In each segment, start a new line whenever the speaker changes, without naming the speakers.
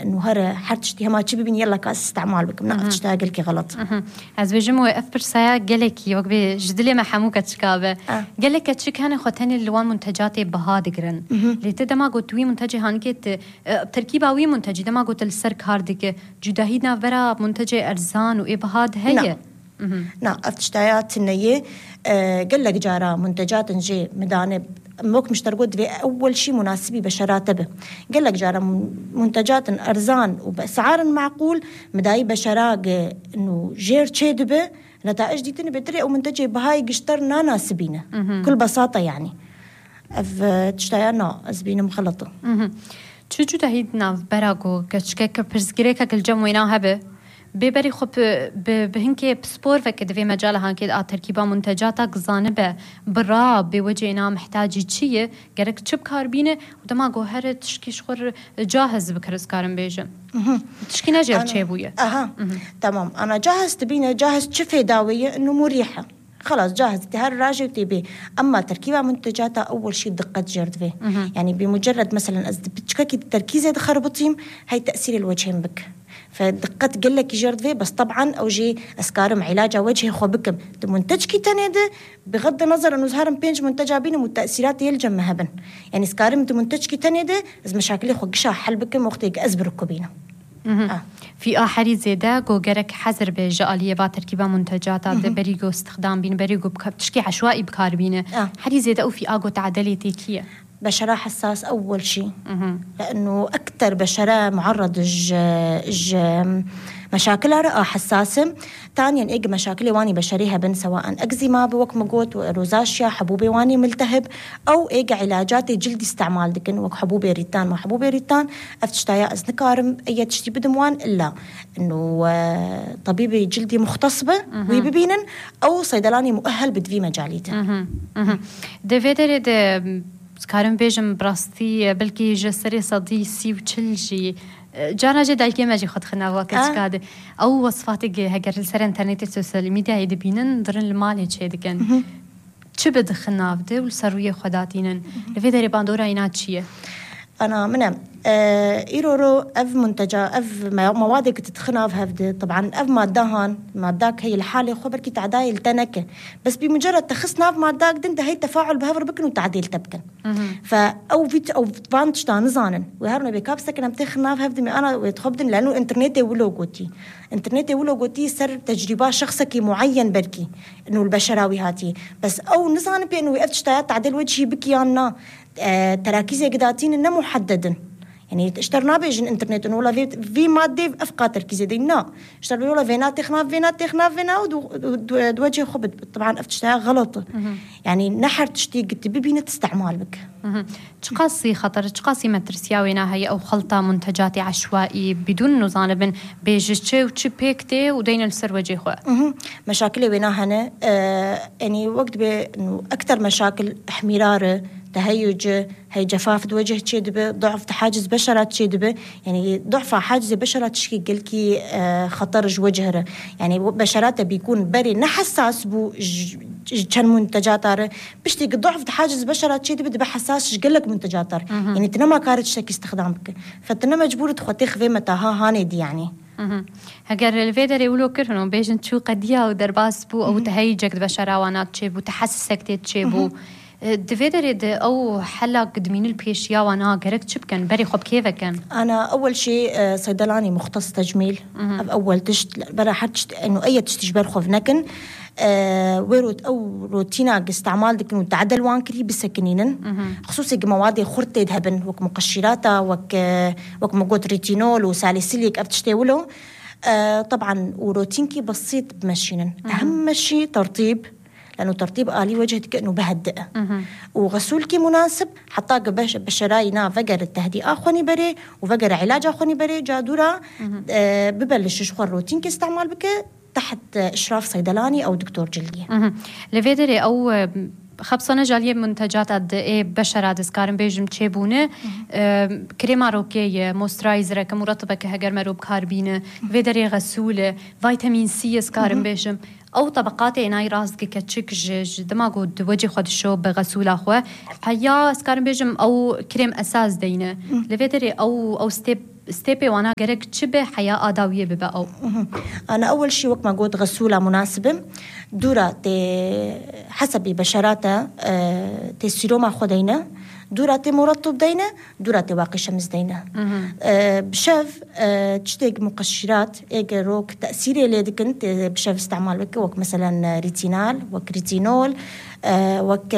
إنه هرا حرتشتي هما تشي ببين يلا كاس استعمال بك منقف تشتها قلكي غلط.
از بيجم وقف برسايا قالكي وقبي جدلي ما حموكة تشكابة قالك تشك هاني خوتاني اللوان منتجاتي بهاد قرن اللي تدما قلت وي منتجي هانكيت تركيبة وي منتجي دما قلت السرك هاردك جداهيدنا برا منتجي أرزان وإيه بهاد هي
نعم أفتشتايات النية قال لك جارة منتجات نجي مدانب موك مشترقود في أول شيء مناسبي بشرات به قال لك جارة منتجات أرزان وبأسعار معقول مداي بشراق إنه جير تشيد به نتائج دي تني بدري أو منتجي بهاي قشترنا ناسبينه كل بساطة يعني أفتشتايانا أزبينه مخلطة
شو جداهيدنا براغو كشكك برزقريك الجموينا هبه ببري خب بهنكي بسبور فكد في مجالها كده تركيبة منتجاتك زانبة برا بوجهنا محتاجي شيء جرك تشب كاربينه ودما جوهرة تشكي شخور جاهز بكرس كارم بيجم تشكي نجار شيء بويا
تمام أنا جاهز تبينه جاهز شفي داوية إنه مريحة خلاص جاهز تهر راجع تبي أما تركيبة منتجاتها أول شيء دقة جرد فيه يعني بمجرد مثلا بتشكي التركيز هذا خربطيم هاي تأثير الوجهين بك فدقت قال لك جرد فيه بس طبعا أو جي أسكارم علاجة وجهي خوبكم منتج كي تنده بغض النظر إنه زهرم بينج منتجة بينه والتأثيرات يلجم مهبن يعني أسكارم منتج كي تنده إذا مشاكل خوقشة حل بكم وقتك أزبركوا بينه
في آخر زيادة جو جرك حذر بجالية با تركيبة منتجات بريجو استخدام بين بريجو بتشكي عشوائي بكار بينه حري زيادة أو في آجو تعدلي تيكية
بشرة حساس أول شيء لأنه أكتر بشرة معرض مشاكلها رئة حساسة ثانيا إيج مشاكل واني بشريها بن سواء أكزيما بوك مقوت وروزاشيا حبوبي واني ملتهب أو إيج علاجات جلد استعمال دكن وك حبوبي ريتان ما حبوبي ريتان أفتشتايا أزنكارم أي تشتي بدموان إلا إنه طبيبي جلدي مختص به ويبينن أو صيدلاني مؤهل بدفي مجاليته
دفيدر ده سكارم بيجم براستي بلكي جسري صدي سي وتشلجي جانا جدا كيما جي خد خنا وقت كاد او وصفاتك هاجر السر انترنت السوشيال ميديا يدبينن درن المال هيك دكن تشبد خنا بده والسرويه خداتينن لفيدري باندورا يناتشيه
أنا منام إيرورو أف منتجة أف مواد كتتخنا في هفدي طبعا أف مادهان ماداك هي الحالة خبر كي تعدايل تنكه بس بمجرد تخصنا في ماداك دنت هي تفاعل بهفر بكن وتعديل تبكن فأو فيت أو بانتش تانزانن وهرنا بكابسة كنا بتخنا في هفدي أنا ويتخبدن لأنه إنترنت ولوجوتي سر تجربة شخصك معين بركي إنه البشراوي هاتي بس أو نزان بأنه وقفت شتايات تعديل وجهي بكيانا تراكيزي قداتين إنه محددن يعني اشترنا بيجن انترنت ولا في مادة أفقا تركيزي دينا اشترنا ولا فينات تخنا ودوجه خبط طبعا أفتشتها غلط يعني نحر تشتي قلت ببينة استعمال بك
تقاسي خطر تقاسي مترسياوينا هي أو خلطة منتجاتي عشوائي بدون نظام بين بيجتشي وتشبيكتي ودين السر وجه خوا
مشاكل وينا هنا يعني وقت بأنه أكتر مشاكل احمرار تهيج هي جفاف وجه تشيدبه ضعف حاجز بشرة تشيدبه يعني ضعف حاجز بشرة تشكي قلكي خطر وجهه يعني بشراته بيكون بري نحساس بو كان منتجات بشتي ضعف حاجز بشرة تشيدبه ده حساس قلك منتجات يعني تنما كارت شكل استخدامك فتنا مجبور تخطيخ في متاها هاندي يعني
هجر الفيدر يقولوا كرهنو بيجن شو قديا ودرباس بو أو تهيجك بشرة وانا تشيبو تحسسك تشيبو دفيدر أو حلا قدمين البيشيا وانا قرقت شبكن بري خب كيف كان
أنا أول شيء صيدلاني مختص تجميل أول تشت برا حتشت إنه أي تشتجبر خوف نكن ويروت أو روتينا استعمال دكن وتعدل وانكري بسكنينن خصوصي مواد خرطة هبن وك مقشراتا وك موجود ريتينول وساليسيليك أبتشتولو طبعا وروتينكي بسيط بمشينن أهم شيء ترطيب لأنه ترطيب آلي وجهك كأنه بهدئة وغسولك مناسب حتى بشراينا فقر التهدئة أخواني بري وفقر علاج أخواني بري جادورة ببلش شخور روتينك استعمال بك تحت إشراف صيدلاني أو دكتور جلدية
لفيدري أو خبصنا جالية منتجات قد إيه بشرة دسكارن بيجم تشيبونه كريمة روكية موسترايزر كمرطبة كهجر مروب كاربينة فيدري غسولة فيتامين سي سكارن بيجم أو طبقات عناية راسك كتشك دماغو وجه خد الشوب بغسولة أخوة هيا سكارن بيجم أو كريم أساس دينه لفيدري أو ستيب ستيبي وانا قرق تشبه حياة آداوية ببقى.
أنا أول شيء وقت ما قلت غسولة مناسبة دورة حسب بشراتها سيروما خدينا دورة مرطب دينا دورة واقي شمس دينا بشاف تشتاق مقشرات روك تأثيري اللي كنت بشاف استعمال بك وك مثلا ريتينال وك ريتينول وك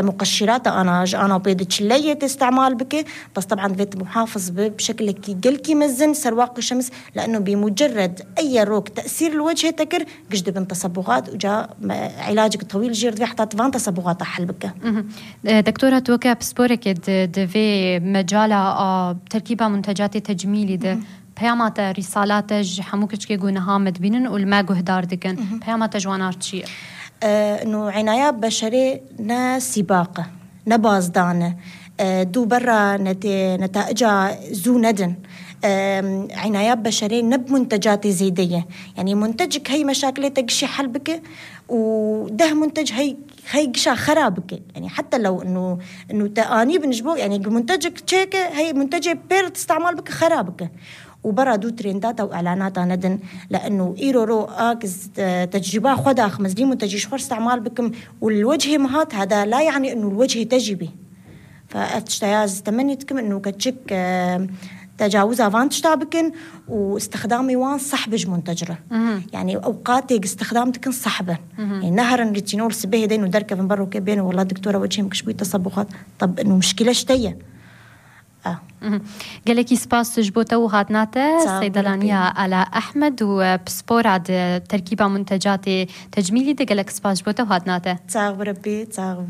مقشرات أنا بيد شلية استعمال بك بس طبعا بيت محافظ بشكل كي مزن سرواقي شمس لأنه بمجرد أي روك تأثير الوجه تكر قجد بين تصبغات وجاء علاجك طويل جير في حتى تفان تصبغات أحل بك.
دكتورة توكا بسبورك في مجال تركيبة منتجات تجميلي ده بيامات رسالات حموكش كي جونها مدبينن والماجو هدار دكن بيامات جوانات شيء
إنه عناية بشري سباقة نبازدانة دو برا نتائجها زو ندن عناية بشري نب منتجات زيدية يعني منتجك هي مشاكلتك شي حل بك وده منتج هي قشا خرابك يعني حتى لو انه تاني بنجبو يعني منتجك تشيك هي منتج بير تستعمل بك خرابك وبرا دو ترندات او اعلانات ندن لانه ايرورو اكز تجربه خدا خمس دي منتج شخور استعمال بكم والوجه مهات هذا لا يعني انه الوجه تجربي فاتشتياز تمنيتكم انه كتشك تجاوزها فان تشتابكن واستخدامي وان صحبج منتجرة يعني أوقاتي استخدامتكن صحبة يعني نهرا ريتينول سبيه دين ودركة من برو كبين والله دكتورة وجهي مكشبوي تصبغات طب إنه مشكلة شتية
قالك سباس جبوتا وهاتناتا صيدلانية على أحمد وبسبور عاد تركيبة منتجات تجميلي ده قالك سباس جبوتا وهاتناتا
تاغ بربي تاغ